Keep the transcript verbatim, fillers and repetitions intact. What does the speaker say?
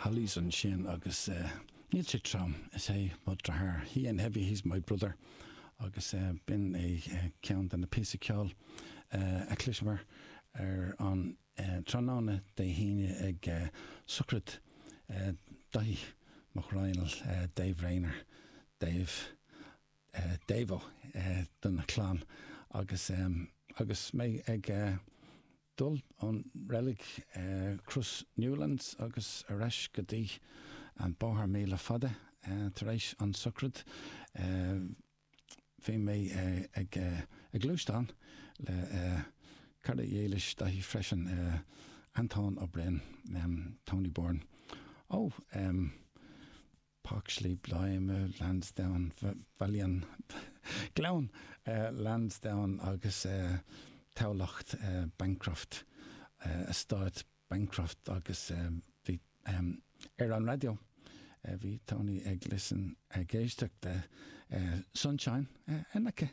Hollies ansin agus uh, níl sé trom is é mo dheartháir. He ain't heavy, he's my brother agus uh, b'in é uh, ceann de na píosaí ceoil uh, a chloiseamar ar an uh, tráthnóna Dé hAoine ag uh, sochraid uh, Daithí Mac Raghnaill uh, Dave Rayner Dave uh, Davo uh, don chlann agus um, agus mé ag uh, dul ón reilig uh, Crois Newlands agus ar ais go dtí an bóthar míle fada uh, tar éis an sochraid uh, bhí mé uh, ag uh, ag gluaisteán le uh, cara dílis Daithí freisin uh, Anton Ó Broin um, Tony Bourne. Ó um, Páirc Sliabh Bladhma Lansdowne Bhaile Gleann uh, Lansdowne agus uh, Tamhlacht uh, Bancroft uh, eastát Bancroft agus bhí uh, um, ar an raidió. Uh, bhí Tony ag listen ag éisteacht le uh, Sunshine uh, in aice